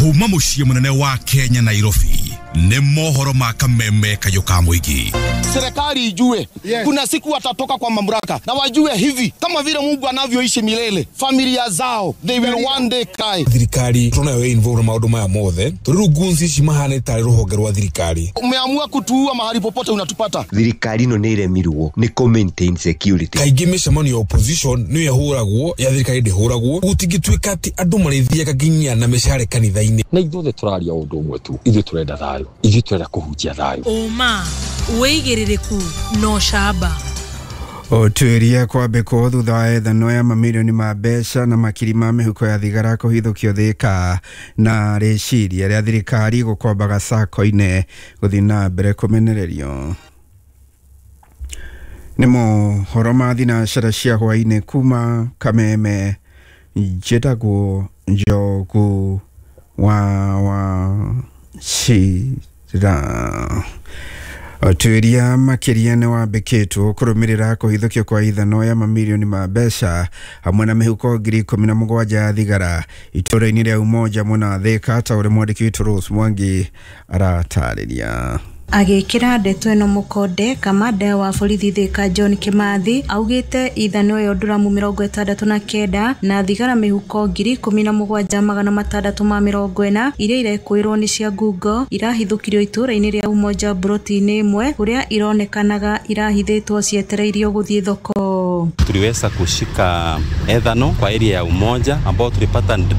Kuma muciĩ munene wa Kenya, Nairobi, nĩ mohoro ma kameme kayũ ka mũingĩ. Serikali ijue, yes, kuna siku watatoka kwa mamlaka na wajue hivi kama vile Mungu anavyoishi milele, familia zao, they will one day cry. Thirikari tunayo involve na maũndũ maya mothe tondũ rĩu goons ici mahana tarĩ rũhonge rwa thirikari. Umeamua kutuua, mahali popote unatupata. Thirikari ĩno nĩ ĩremirwo nĩ kũ maintain security. Kaingĩ mĩcemanio ya opposition nĩyo ĩhũragwo, ya thirikari ndĩhũragwo. Gũtingĩtuĩka atĩ andũ marĩthiaga nginya na mĩcare kanitha-inĩ. Na ithuothe tũraria ũndũ ũmwe tu, ithuĩ tũrenda thayũ, ithuĩ tũrenda kũhunjia thayũ. Ũma, wĩigĩrĩrĩku na ũcamba. Ũtuĩria kwambĩkwo thutha wa ethano ya mamirioni ma mbeca na makiri ma mĩhuko ya thigara kũhithũkio Thĩka, na rĩciria rĩa thirikari gũkombaga sacco-inĩ gũthiĩ na mbere kũmenererio. Nĩ mohoro ma thinacara cia hwaĩ-inĩ kuma Kameme. Njĩtagwo Njogu wa Wachira. Ũtuĩria makĩria nĩ wambĩkĩtwo kũrũmĩrĩra kũhithũkio kwa ithano ya mamirioni ma mbeca hamwe na mĩhuko 17,000 ya thigara itũũra-inĩ rĩa Umoja mwena wa Thĩka, ta ũrĩa mwandĩki witũ Rose Mwangi aratarĩria. Agĩkĩra ndeto ĩno mũkonde, kamanda wa borithi Thĩka John Kimathi augĩte ithano ĩyo nduramu 69 na thigara mĩhuko 17,640 iria irekũĩrwo nĩ cia ngungo irahithũkirio itũũra-inĩ rĩa Umoja mburoti-inĩ ĩmwe kũrĩa ironekanaga irahithĩtwo cietereirio gũthiĩ thoko. Tuliweza kushika ethano kwa area ya Umoja ambao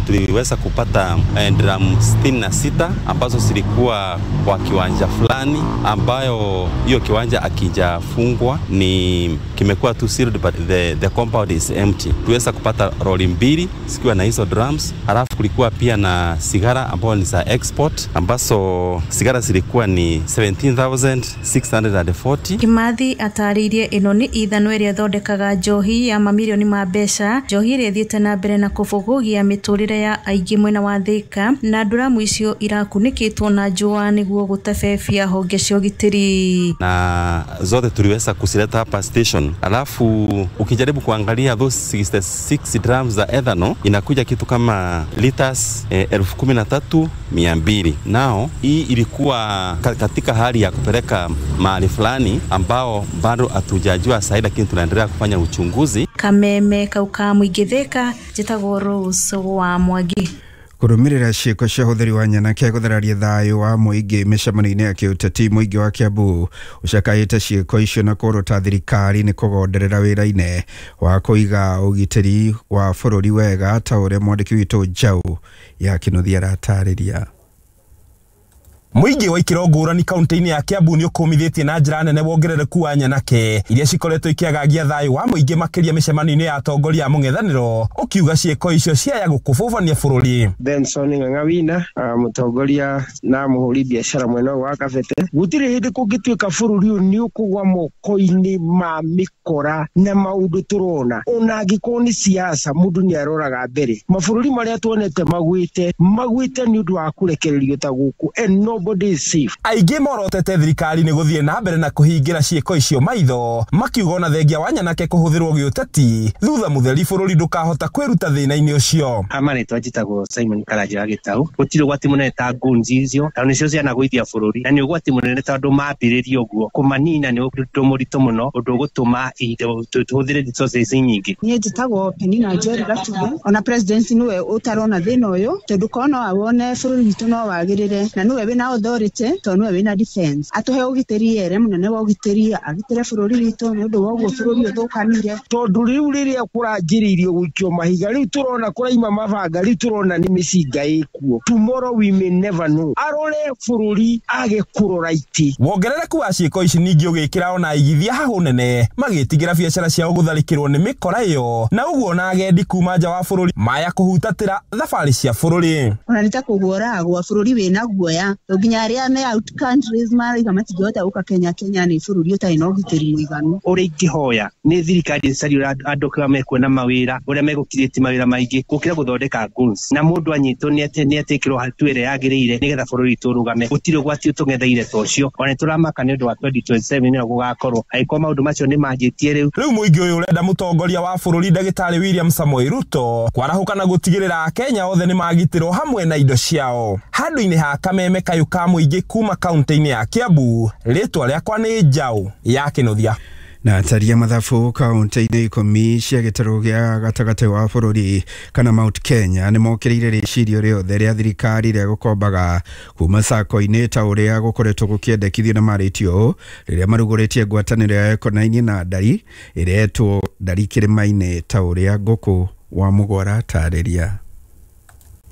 tuliweza kupata drum 66 ambazo zilikuwa kwa kiwanja fulani ambayo hiyo kiwanja akijafungwa ni kimekuwa tu sealed, but the compound is empty. Tuweza kupata lori mbili zikiwa na hizo drums, halafu kulikuwa pia na sigara ambayo ni za export ambazo sigara zilikuwa ni 17,640. Kimathi atarĩirie ĩno nĩ ithano ĩrĩa ĩthondekaga njohi ya mamirioni ma mbeca, njohi ĩrĩa ĩthiĩte na mbere na kũbũgũgia mĩtũrĩre ya aingĩ mwena wa Thĩka, na nduramu icio irakunĩkĩtwo na njũa nĩguo gũtebebia honge cia ũgitĩri. Na zote tuliweza kuzileta hapa station. Alafu ukijaribu kuangalia those 66 drums za ethanol inakuja kitu kama liters 13,200. Nao hii ilikuwa katika hali ya kupeleka mahali fulani ambao bado hatujajua sahi, lakini tunaendelea kufanya uchunguzi. Kameme kauka mũingĩ Thĩka, njĩtagwo Rose wa Mwangi. Kũrũmĩrĩra ciĩko cia ũhũthĩri wa nyanake gũthararia thayũ wa mũingĩ mĩcemanio-inĩ ya kĩũteti, mũingĩ wa Kiambu ũcakaĩte ciĩko icio na kũrota thirikari nĩ kũgonderera wĩra-inĩ wa kũiga ũgitĩri wa bũrũri wega, ta ũrĩa mwandĩki witũ Njaũ ya Kĩnuthia aratarĩria. Mũingĩ wa ikĩro ngũrani kaunti-inĩ ya Kiambu nĩ ũkũmithĩtie na njĩra nene wongerereku wa nyanake iria cikoretwo ikĩagagia thayũ wa mũingĩ makĩria mĩcemanio-inĩ ya atongoria a mũng'ethanĩro, ũkiuga ciĩko icio ciaya gũkũbũbania bũrũri. Benson Ng'ang'a mũtongoria na mũhũri biacara mwena wa Kabete, gũtirĩ hĩndĩ kũngĩtuĩka bũrũri ũyũ nĩ ũkũgwa moko-inĩ ma mĩkora na maũndũ tũrona, ona angĩkorwo nĩ siasa mũndũ nĩ aroraga mbere. Mabũrũri marĩa tuonete magwĩte magwĩte nĩ ũndũ wa kũrekererio ta gũkũ, and nobody is safe. Aingĩ morotete thirikari nĩ gũthiĩ na mbere na kũhingĩra ciĩko icio maitho, makiuga ona thengia wa nyanake kũhũthĩrwo gĩũteti thutha mũtheri bũrũri ndũkahota kwĩruta thĩna-inĩ ũcio. Ama rĩtwa njĩtagwo Simon Karanja wa Gĩtau. Gũtirĩ ũgwati mũnene ta goons icio, tondũ nĩcio cianagũithia bũrũri, na nĩ ũgwati mũnene tondũ mambĩrĩria ũguo kũmanina nĩ ũndũ mũritũ mũno, ũndũ ũgũtũma tũhũthĩre resources nyingĩ. Niĩ njĩtagwo Penina Njeri Gatuge. Ona president nĩwe ũtarona thĩna ũyũ, tondũ korwo no awone bũrũri witũ no wagĩrĩre, na nĩwe wĩna authority tondũ nĩwe wĩna defense. Atũhe ũgitĩri ere mũnene wa ũgitĩri agitĩre bũrũri witũ nĩ ũndũ wa ũguo bũrũri ũthũkanire. Tondũ rĩu rĩrĩa kũranjĩrĩirio gũikio mahiga, rĩu tũrona kũraima mabanga, rĩu tũrona nĩ mĩcinga ĩkuo. Tomorrow we may never know. Arore bũrũri age kũrora itĩ. Wongerereku wa ciĩko ici ningĩ ũgĩkĩra ona aigithia hahũ nene magĩtigĩra biacara ciao gũtharĩkĩrwo nĩ mĩkora ĩyo, na ũguo ona agendi kuma nja wa bũrũri maya kũhutatĩra thabarĩ cia bũrũri. Ona nĩ ta kũguoragwo bũrũri wĩna guoya, Tondu nginya aria me out countries marauga matingĩhota gũka Kenya. Kenya nĩ bũrũri ũtarĩ na ũgitĩri mũiganu. Ũrĩa ingĩhoya nĩ thirikari ĩcarie andũ kũrĩa mekuona mawĩra, ũrĩa megũ-create mawĩra maingĩ gũkĩra gũthondeka goons, na mũndũ anyitwo nĩ etĩkĩrwo hatua ĩrĩa yagĩrĩire nĩgetha bũrũri witũ ũrũgame. Gũtirĩ ũgwati ũtũng'etheire ta ũcio, ona nĩtũramaka nĩ ũndũ wa 2027 nĩyo gũgakorwo angĩkorwo maũndũ macio nĩ manjĩtie rĩu. Rĩu mũingĩ ũyũ ũrenda mũtongoria wa bũrũri ndagĩtarĩ William Samoei Ruto kwarahũka na gũtigĩrĩra Akenya othe nĩ magitĩrwo hamwe na indo ciao. Handũ-inĩ ha kameme kayũ ka mũingĩ kuma kaunti-inĩ ya Kiambu, rĩtwa rĩakwa nĩ Njaũ ya Kĩnuthia. Na ataria mathabu kaunti-inĩ 10 cia gĩtarũ gĩa gatagatĩ wa bũrũri kana Mount Kenya nĩ mokĩrĩire rĩcirio rĩothe rĩa thirikari rĩa gũkombaga kuma sacco-inĩ ta ũrĩa gũkoretwo gũkĩendekithio na marĩtio ũũ rĩrĩa marugũrĩtie ngwatanĩro ya ĩkonainie na ndari ĩretwo Ndari Kĩrĩma-inĩ ta ũrĩa Ngũkũ wa Mũgwara tarĩria.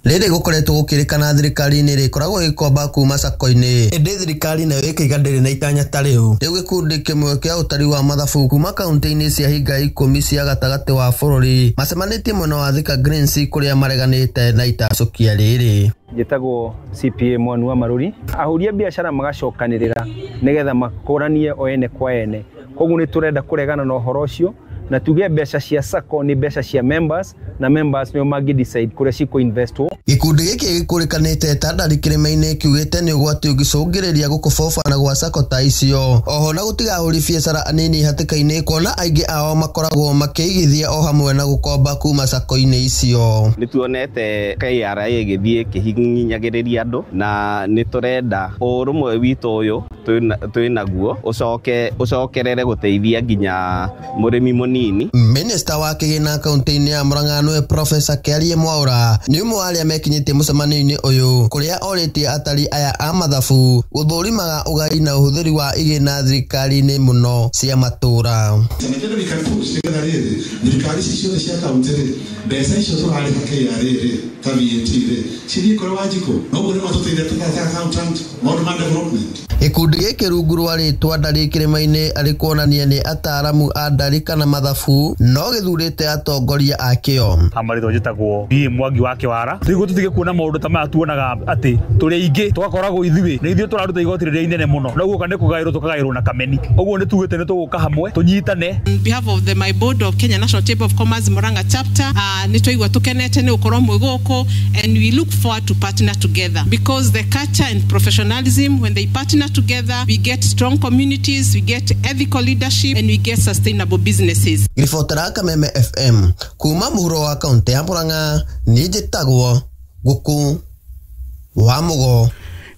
Rĩrĩ gũkoretwo gũkĩrĩkana thirikari nĩ ĩrĩkoragwo ĩgĩkomba kuma sacco-inĩ, ĩndĩ thirikari nayo ĩkaiga ndĩrĩ na itanya ta rĩu. Rĩu gĩkundi kĩmwe kĩa ũtari wa mathabu kuma kaunti-inĩ cia hinga 10 cia gatagatĩ wa bũrũri macemanĩtie mwena wa Thika Greens kũrĩa mareganĩte na itacũkia rĩrĩ. Njĩtagwo CPA Mwanu wa Maruri. Ahũri a biacara magacokanĩrĩra nĩgetha makũranie o ene kwa ene, koguo nĩ tũrenda kũregana na ũhoro ũcio na tuge mbeca cia sacco nĩ mbeca cia members, na members nĩo mangĩ decide kũrĩa cikũ investwo. Gĩkundi gĩkĩ gĩkũrĩkanĩte ta Ndari Kĩrĩma-inĩ kiugĩte nĩ ũgwati ũngĩcũngĩrĩria gũkobobana gwa sacco ta icio, oho na gũtiga ahũri biacara anini hatĩka-inĩ kuona aingĩ ao makoragwo makĩigithia o hamwe na gũkomba kuma sacco-inĩ icio. Nĩ tuonete KRA ĩgĩthiĩ ĩkĩhinyagĩrĩria andũ, na nĩ tũrenda ũrũmwe witũ ũyũ twĩ naguo ũcokerere gũteithia nginya mũrĩmi mũnini. Minista wa kĩgĩna kaunti-inĩ ya Murang'a nĩwe Profesa Kĩarie Mwaura nĩ ũmwe wa arĩa mekinyĩtie mũcemanio-inĩ ũyũ kũrĩa orĩtie atari aya a mathabu gũthũrimaga ũgai na ũhũthĩri wa igĩna thirikari-inĩ mũno cia matũra. Thirikari ici ciothe cia kaunti rĩ, mbeca icio tũrarĩha KRA rĩ ta VAT rĩ cithiĩ kũrĩ Wanjikũ, noguo nĩ matũteithia ta accountant maũndũ ma development. Gĩkundi gĩkĩ rungu rwa rĩtwa Ndari Kĩrĩma-inĩ arĩ kuonania nĩ ataaramu a ndari kana mathabu no gĩthurĩte atongoria akĩo. Marĩtwa njĩtagwo B Mwangi wa Kĩwara. Nĩguo tũtige kuona maũndũ ta maya tuonaga atĩ tũrĩ aingĩ tũgakoragwo ithuĩ nĩ ithuĩ tũraruta igoti rĩrĩa inene mũno, no guoka nĩ kũgaĩrwo tũkagaĩrwo na kameni. Ũguo nĩ tugĩte nĩ tũgũka hamwe tũnyitane. On behalf of the my board of Kenya National Chamber of Commerce Murang'a chapter, nĩ twaigua tũkenete nĩ gũkorwo mwĩ gũkũ, and we look forward to partner together because the culture and professionalism, when they partner together, we get strong communities, we get ethical leadership, and we get sustainable businesses. Ribotera Kameme FM kuma mũhuro wa kaunti ya Murang'a, niĩ njĩtagwo Ngũkũ wa Mũgo.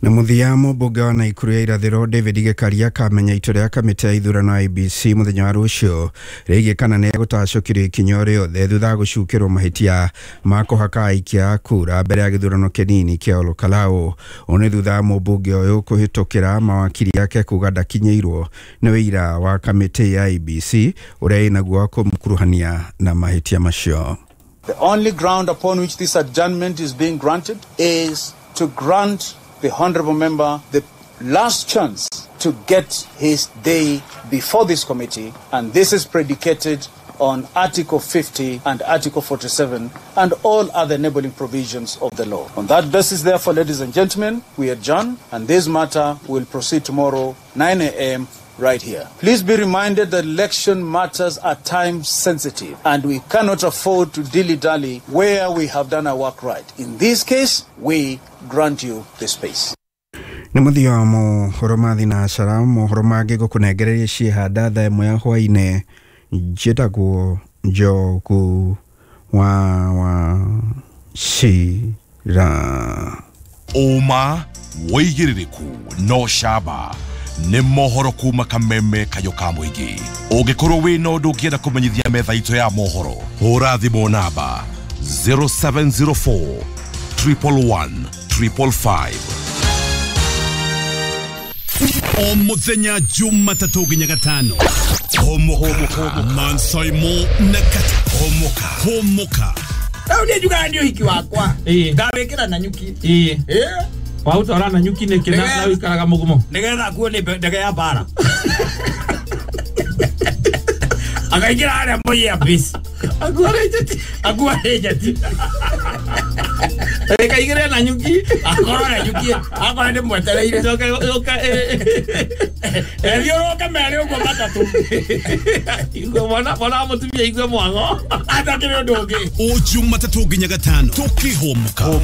Na mũthia mũmbunge wa Naikuru ya irathĩro David Gĩkaria akamenya itua rĩa kamĩtĩ ya ithurano IEBC mũthenya wa rũciũ rĩgiĩ kana nĩ egũtacũkĩrio ikinya o rĩothe thutha wa gũcukĩrwo mahĩtia ma kũhaka aikia a kura mbere ya gĩthurano kĩnini kĩa Olokalao. Ũũ nĩ thutha wa mũmbunge ũyũ kũhĩtũkĩra mawakiri ake kuga ndakinyĩirwo nĩ wĩira wa kamĩtĩ ya IEBC ũrĩa ĩnaguo wa kũmũkuruhania na mahĩtia macio. The only ground upon which this adjournment is being granted is to grant the honorable member the last chance to get his day before this committee, and this is predicated on Article 50 and Article 47 and all other enabling provisions of the law. On that basis, therefore, ladies and gentlemen, we adjourn, and this matter will proceed tomorrow, 9 a.m. right here. Please be reminded that election matters are time sensitive, and we cannot afford to dilly-dally where we have done our work right. In this case, we grant you the space. Nĩ mũthia wa mohoro ma thinacara. Mohoro mangĩ ngũkũnengereria ciĩhanda thaa 1 ya hwaĩ-inĩ. Njĩtagwo Njogu wa Wachira. Ũma wĩigĩrĩrĩku no camba nĩ mohoro kuma kameme kayũ ka mũingĩ. Ũngĩkorwo wĩna ũndũ ũngĩenda kũmenyithia metha itũ ya mohoro, hũra thimũ namba 0704 111 555. O mũthenya Jumatatũ nginya Gatano, Homoka Mansaimo na Kata. Homoka Homoka. Rĩu niĩ njugaga nĩ ũhiki wakwa ngawĩkĩra na nyuki. Waũtwara na nyuki nĩkĩ na ũikaraga mũgumo? Nĩgetha akuo nĩ ndege ya mbara. Akaingĩra harĩa Moi Air Base. Akuo arĩ njeti. Akuo arĩ njeti. Ekaigire na nyuki akorwo na nyuki akorwo ndi mwetereire coka ethiũrũke merĩ ũguo matatũ igue mwana mwana mũtumia igue mwango atakĩrĩ ũndũ ũngĩ o Jumatatũ nginya gatano tũkĩhũmũka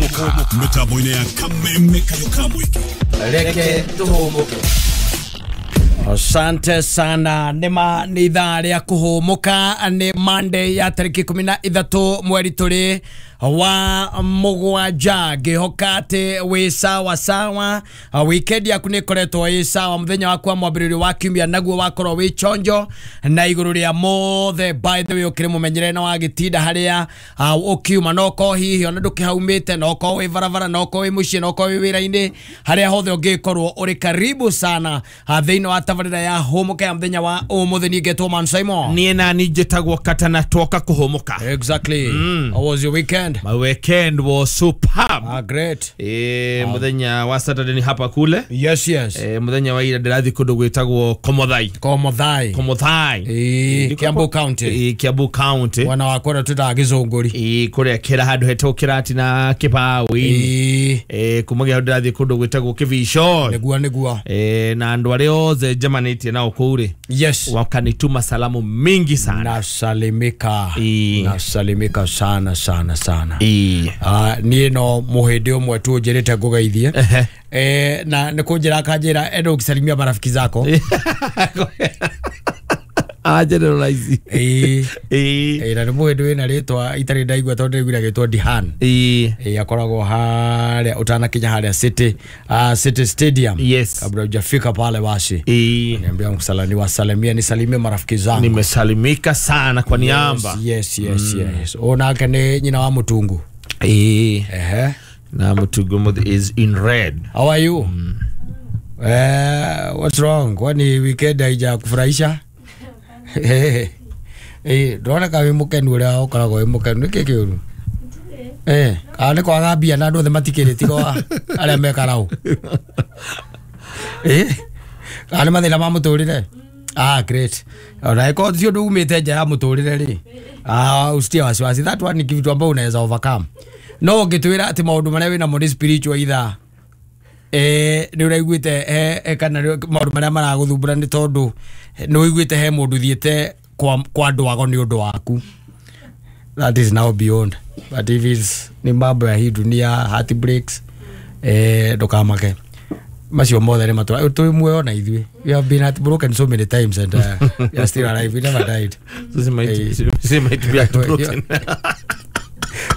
mĩtambo-inĩ ya Kameme Kayo ka Mũingĩ. Reke tũhũmũke. Asante sana. Nĩma nĩ ithaa rĩa kũhũmũka, nĩ Monday ya tarĩki 13 mweri tũrĩ wa mũgwanja. Ngĩhoka atĩ wĩ sawa sawa, weekend yaku nĩ ĩkoretwo ĩ sawa, mũthenya waku wa mwambĩrĩrio wa kiumia naguo wakorwo wĩ chonjo na igũrũ rĩa mothe. By the way, ũkĩrĩ mũmenyere na wagĩtinda harĩa ũkiuma, no korwo hihi ona ndũkĩhaumĩte, no korwo wĩ barabara, no korwo wĩ mũciĩ, no korwo wĩ wĩra-inĩ, harĩa hothe ũngĩkorwo ũrĩ karibu sana thĩinĩ wa tabarĩra ya hũmũka ya mũthenya wa ũmũthĩ. Niĩ ngetwo Man Simon. Niĩ nani njĩtagwo Katana twoka kũhũmũka. Exactly. How was your weekend? My weekend was superb. Ah, great. Muthenya wa Saturday ni hapa kule. Yes, yes. Muthenya wa ira ndĩrathiĩ kũndũ gwĩtagwo Komothai. Komothai. Komothai. Kiambu County. Kiambu County. Wana wakwa na tũtaga gĩcũngũri. Kũrĩa kĩra handũ hetagwo kĩrati na kĩbaũ-inĩ. Kumagia hau ndĩrathiĩ kũndũ gwĩtagwo Kĩbico. Nĩguo nĩguo. Na andũ arĩa othe njemanĩtie nao kũu rĩ. Yes. Wakanituma salamu mingi sana. Nasalimika. Nasalimika sana sana sana. Niĩ no mũhĩndĩ ũmwe tu ũnjĩrĩte ngũgeithie. Na nĩ kũnjĩra akanjĩra enda ũkisalimia marafiki zako. Generalize. Na nĩ mũhĩndĩ wĩna rĩtwa itarĩ ndaigua tondũ ndĩraiguire agĩtwo Dihan. Akoragwo harĩa ũtanakinya harĩa City, City Stadium. Yes. Kabla hujafika pale basi. Niambia msalani wasalimia, nisalimie marafiki zangu. Nimesalimika sana kwa niamba. Yes, yes, yes. Onake nĩ nyina wa Mutungu. Na Mutungu is in red. How are you? What's wrong? Kwani weekend haijakufurahisha? Ndona ka wĩ mũkenu ũrĩa ũkoragwo wĩ mũkenu nĩkĩ kĩũru? Kana nĩ kwaga mbia na andũ othe matikĩrĩ tiga arĩa mekaraũ. Kana nĩ mathĩna ma mũtũrĩre? Ah, great. Ona ĩkorwo ti ũndũ umĩte nja ya mũtũrĩre rĩ, usitie wasiwasi. That one ni kitu ambao unaweza overcome. No ũngĩtwĩra atĩ maũndũ marĩa wĩnamo nĩ spiritual either nĩ ũraiguĩte kana maũndũ marĩa maragũthumbũra nĩ tondũ nĩ ũiguĩte he mũndũ thiĩte kwa andũ ago nĩ ũndũ waku. That is now beyond. But if it's ni mambo ya hii dunia, heartbreaks, ndũkamake. Macio mothe nĩ matũra tũrĩ muoyo na ithuĩ. We have been heartbroken so many times and we are still alive. We never died. So might be heartbroken.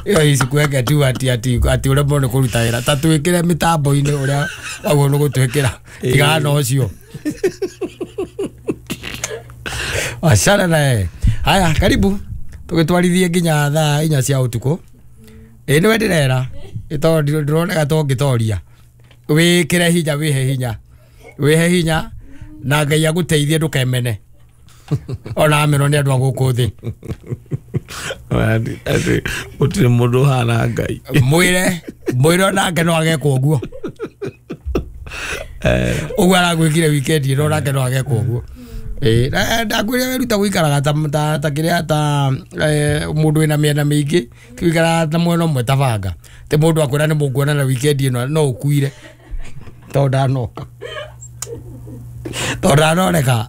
Iyo isikuweke tu ati ati ati ũremwo nĩ kũruta wĩra ta twĩkĩre mĩtambo-inĩ ũrĩa waguo nĩ gũtwĩkĩra tigana na ũcio. Achana naye. Haya, karibu tũgĩtwarithie nginya thaa 4 cia ũtukũ. Nĩwe ndĩrera tondũ ndĩroneka to ngĩtoria. Wĩkĩre hinya, wĩhe hinya, wĩhe hinya na Ngai agũteithie ndũkemene ona amenwo nĩ andũ a gũkũ thĩ. Gũtirĩ mũndũ ũhana Ngai. Mwĩre mwĩre onake no agekwo ũguo. Ũguo aragwĩkire weekend ĩno onake no agekwo ũguo. Ndakwĩra weruta gũikaraga ta kĩrĩa ta mũndũ wĩna mĩena mĩingĩ, ti gũikaraga ta mwena ũmwe ta banga. Ti mũndũ akwĩra nĩ mũkuonana weekend ĩno no ũkuire tondũ ndanoka. Tondũ ndanoneka.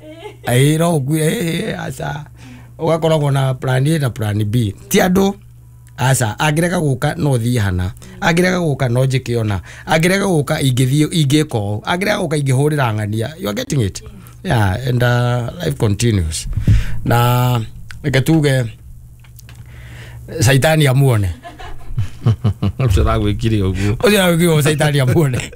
No ũkuire, aca. Ũgakoragwo na plan A na plan B. Ti andũ aca, angĩrega gũka no thiĩ hana, angĩrega gũka no njĩke ona, angĩrega gũka ingĩthiĩ ingĩka ũũ, angĩrega gũka ingĩhũrĩra ng'ania. You are getting it? Yeah, and life continues. Na reke tuge Saitani amuone. Ũcio aragwĩkire ũguo. Ũcio aragwĩkire ũguo Saitani amuone.